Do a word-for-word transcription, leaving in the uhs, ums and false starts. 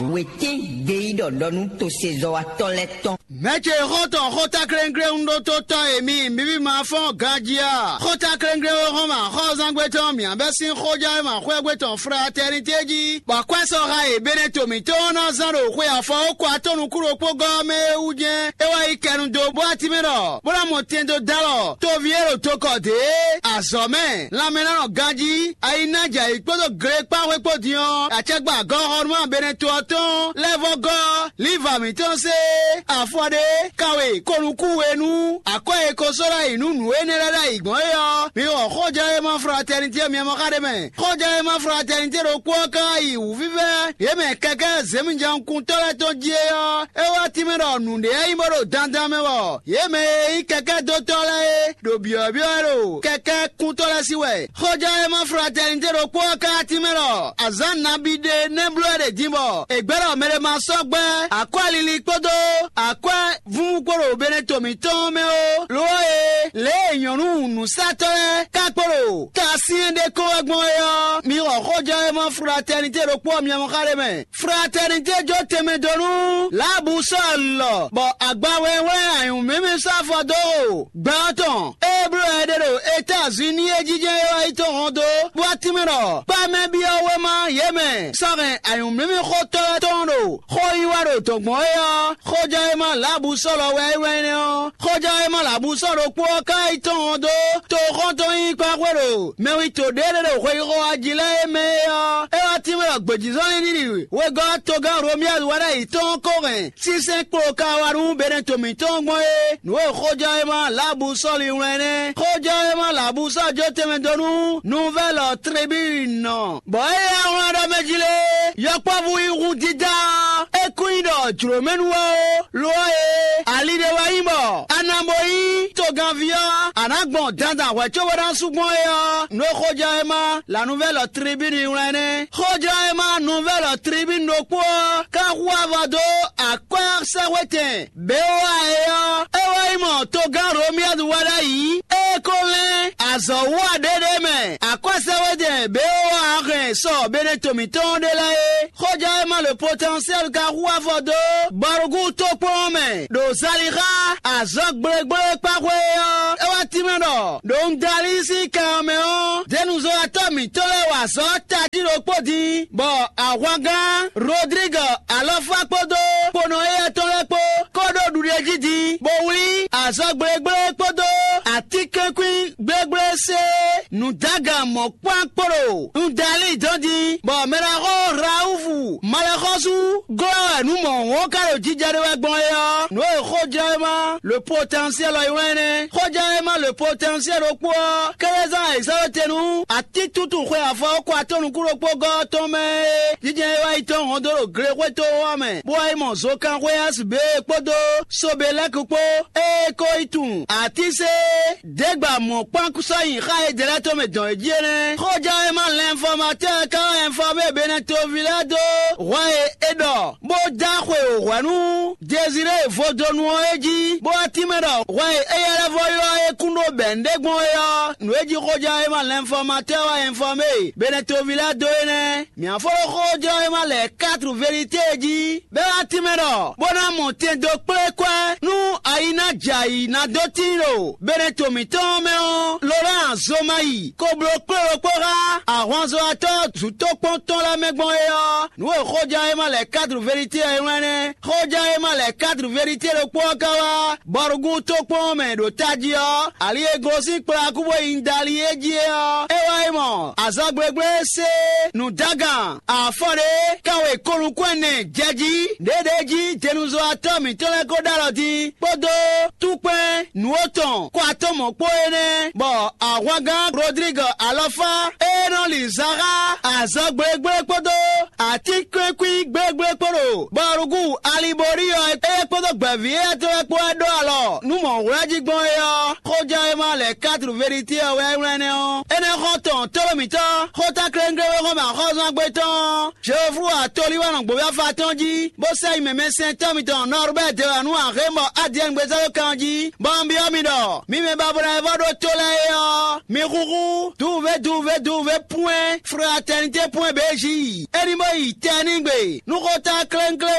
Wětín gbeyíɖɔ ɖɔ nú tosezɔ́watɔ́ lɛ́ɛ tɔn. Mɛ̌ ce xɔ́ntɔn xótáklɛ́nglɛ́n ɖótótɔ́ e mi mǐví ma fɔ́n ganjí a? Xótáklɛ́nglɛ́n e hɔn ma xɔ́zángbé tɔn mǐ bɛ́ sín xójánwéma xwɛ́gbé tɔn Fratɛnitě jí, bɔ akwɛ́ sɔxa e Beneto mǐtɔn ɔ́ ná zán ɖo xwe afɔ ó kɔ atɔ́ nukúɖokpógɔ́ ɔ́ mɛ é wú jɛ́n. É wá yi kɛ nu dó bó atín mɛ ɖɔ bó ná mɔ tɛn dó dó alɔ toví e ɖo tokɔ dě azɔ̌ mɛ lanmɛnánɔ ganjí ayinájɛ ayǐ kpódó glekpáxwé kpó din ɔ́, acɛgbɛ agɔ́xɔnúmá Beneto ɔ́ tɔn lɛ́ vɔ́ gɔ́ Liva mǐtɔn se afɔ ɖé, kawe konukúwe nú akwɛ́ e ko sɔ́ ɖ'ayǐ nú nǔ énɛ́ lɛ́ɛ ɖ'ayǐ gbɔn é ɔ́, mi xɔ xójɛ́wéma Fratɛnitě myɛ mɔ xá ɖé mɛ. Xójɛ́wéma Fratɛnitě ɖokpó ɔ́ ka yi wǔvívɛ́ yě mɛ kɛkɛ́ zěmijɔnkuntɔ́ lɛ́ɛ tɔn jí é ɔ́, é wá tínmɛ ɖɔ nǔɖé ɔ́ nyí bó ɖo dandan mɛ wɔ yě mɛ e nyí kɛkɛ́dótɔ́ lɛ́ɛ é ɖo byɔ̌byɔ́ wɛ ɖo kɛkɛ́ kúntɔ́ lɛ́ɛ sí wɛ. Xójɛ́wéma Fratɛnitě ɖokpó ɔ́ ka tínmɛ ɖɔ azǎn nabí ɖé nɛ́ bló wɛ ɖe din bɔ è gbɛ́ ɖɔ mɛ ɖé ma sɔ́ gbɛ́ akwɛ́ lili kpódó akwɛ́ vúvú kpó ɖo Beneto mǐtɔn mɛ ó. Lo ɔ́ e, lě e nyɔ̌nu nǔsatɔ́ lɛ́ɛ ka kpo ɖo tasyɛ́n ɖé kɔn wɛ gbɔn é ɔ́, mi xɔ xójɛ́wéma Fratɛnitě ɖokpó ɔ́ myɔ xá ɖé mɛ. Fratɛnitě jó tɛnmɛ dó nú Lǎbu Sɔ́ɔlɔ, bɔ agba wɛnwɛn anyǔmímí sɔ́ afɔ dó o gbɛ ɔ́ tɔn. Ée bló wɛ é ɖe ɖo Etazini é jínjɔ́n é wá yi tɔn hɔn dó, bó wá tínmɛ ɖɔ kpá mɛ byɔ́ wéma yě mɛ sɔ́ hɛn anyǔmímíxótɔ́ lɛ́ɛ tɔn ɖo xó yí wá ɖo dɔ̌n gbɔn é ɔ́, xójɛ́wéma Lǎbu Sɔ́ɔlɔ wɛ é wɛn énɛ́ ɔ́. Xójɛ́wéma Lǎbu Sɔ́ɔlɔ ɖokpó ɔ́ ka yi tɔn hɔn dó toxɔ́ntɔn nyíkpáxwé ɖo mɛwito ɖé ɖé ɖo hweyíxɔ wá jí lɛ́ɛ é mɛ é ɔ́, é wá tínmɛ ɖɔ gbějízɔ́n ní ɖiɖi wegɔ́ togán Romiyánu wɛ ɖ'ayǐ tɔn ɔ́ ko hɛn sínsɛ́n kplo ka wá nú Beneto mǐtɔn gbɔn é. Nǔ e xójɛ́wéma Lǎbu Sɔ́ɔlu wlɛ́n nɛ́. Xójɛ́wéma Lǎbu Sɔ́ɔlu jó tɛnmɛ dó nú Nuvɛ́lɔ Tribínu, bɔ é yá wlán ɖɔ mɛ jí lé, yɔkpɔ́vú yí hú dídá, é kún nyí ɖɔ jlǒmɛnu wɛ ó. Lo ɔ́ e, ali ɖé wɛ nyí bɔ a nǎ bo nyí togánví ɔ́, a nǎ gbɔn dandan hwɛ̌ cóbó ná sú gbɔn é ɔ́, nǔ e xójɛ́wéma La Nouvelle Tribune wlɛ́n nɛ́. Xójlɔ́ e ma Nouvelle Tribune ɖokpó ɔ́ ka hu avɔ dó akwɛ́ sɛ́xwetɛn Beowa é ɔ́, é wɛ nyí mɔ togán Romiyɛ́du wá ɖ'ayǐ, é ko lɛ́n azɔ̌ wú aɖéɖé mɛ akwɛ́ sɛ́xwetɛn Beowa hɛn sɔ Beneto mǐtɔn ɖé lɛ́ɛ é. Xójlɔ́ e ma Le Potentiel ka hu avɔ dó Bɔrugú tókpɔn ɔ́ mɛ ɖo Zalixa azɔ̌ gblégblé kpáxwé é ɔ́, é wá tínmɛ ɖɔ ɖo un dali sín kan ɔ́ mɛ ɔ́, Denuzɔ́watɔ́ mǐtɔn lɛ́ɛ wa azɔ̌ tají ɖokpó din, bɔ ahwangán Rodrigue Alɔfá kpódó kponɔ éyɛ́ tɔn lɛ́ɛ kpó kó ɖó ɖuɖéjí din, bó wlí azɔ̌ gblégblé kpódó atínkɛ́nkwín gblégblé sé nǔdágan mɔ̌kpán kpó ɖo un dali dɔn din, bɔ mɛ ɖaxó Rawufu malɛxɔ́sú glɔ́ wɛ nǔ mɔ̌hun ɔ́ ka ɖo jijɛ ɖé wɛ gbɔn é ɔ́, nǔ e xójlɔ́ e ma Le Potentiel ɔ́ yi wlɛ́n nɛ́. Xójlɔ́ e ma Le Potentiel ɖokpó ɔ́, kélé zán ayǐsáwétenu atítútú xwe afɔ kɔ atɔ́ nukún ɖokpó gɔ́ ɔ́ tɔn mɛ é. Jijɛ e wá yi tɔn hɔn dó ɖo glexwétɔ́ ɔ́ mɛ, bó wá yi mɔ zokanxwé Asibée kpódó Sobelɛ́ki kpó, ée é ko yi tunwun atínsé dégbamɔ kpán sɔ́ nyi xá e jɛ lɛ́ɛ tɔn mɛ dɔn é jí é nɛ́. Xójɛ́wéma lɛnfɔmatɛ́ ka wá ɛnfɔmé Benɛtovi lɛ́ɛ dó hwɛ e è ɖɔ bó dó axwe wǒ hwɛ nú Dezirée vodonu ɔ́ é jí, bó wá tínmɛ ɖɔ hwɛ e éyɛ́ lɛ́ vɔ ylɔ́ é kún ɖó bɛ̌ nǔɖé gbɔn é ɔ́, nǔ e jí xójɛ́wéma lɛnfɔmatɛ́ wá ɛnfɔmé Benɛtovi lɛ́ɛ dó é nɛ́. Mǐ á fó ɖó xójlɔ́ e ma lɛ quatre vérité jí, bɔ é wá tínmɛ ɖɔ bó ná mɔ tɛn dó kplé kwɛ́ nú ayi ná jɛ ayǐ ná dó tíin ɖo Beneto mǐtɔn ɔ́ mɛ ɔ́, Lorán Zomayi ko bló kplé ɖokpó xá ahwanzɔ́watɔ́ zǔtókpɔ́ntɔ́ lɛ́ɛ mɛ gbɔn é ɔ́, nǔ e xójlɔ́ e ma lɛ quatre vérité ɔ́ é wlɛ́n nɛ́. Xójlɔ́ e ma lɛ quatre vérité ɖokpó ɔ́ ka wá Bɔrugún tókpɔn ɔ́ mɛ ɖo tají ɔ́, ali e gosín kplɔ́ akúbó nyi Dali é jí é ɔ́, é wá yi mɔ azɔgblégblé sé nǔdágan afɔ ɖé kanwe kɔnukún ɛnɛ jɛ jí, ɖěɖě jí denuzɔ́watɔ́ mǐtɔn lɛ́ɛ ko ɖó alɔ din, kpódó túkpɛn nǔ atɔn kɔ atɔ́ mɔ̌ kpó énɛ́, bɔ ahwangán Rodrigue Alɔfá e nɔ li zan xá azɔgblégblé kpódó atínkɛ́nkwín gblégblé kpó ɖo Bɔrugú Alibori ɔ́, é kpódó gbɛ̌ví éyɛ́ tɔn lɛ́ɛ kpó wɛ ɖó alɔ nú mɔ̌hwlɛ́ jí gbɔn é ɔ́, xójlɔ́ e ma lɛ quatre vérité ɔ́ wɛ é wlɛ́n nɛ́ ɔ́. Énɛ́ xɔ́ntɔn Tóɖó mǐtɔn, xóta kléŋklé e xɔ́n mɛ axɔ́zɔ́ngbe tɔn ɔ́, Jehovu atolíwánɔ gbǒvyɔ́fa tɔn jí, bó sɛ́ nyi mɛmɛsɛntɔ́ mitɔn Nɔrbɛ́ɛ dewanu Ahémɔ Adiɛngbezá ɖó kan jí, bɔ un byɔ́ mi ɖɔ: mi mɛ ba bo ná yi vɔ ɖó tó lɛ́ɛ é ɔ́, mi húhú duwuvé duwuvé duwuvé pwɛ́n fratɛnitě pwɛ́n bějí. É ní bó yi tɛnígbe nú xóta kléŋklé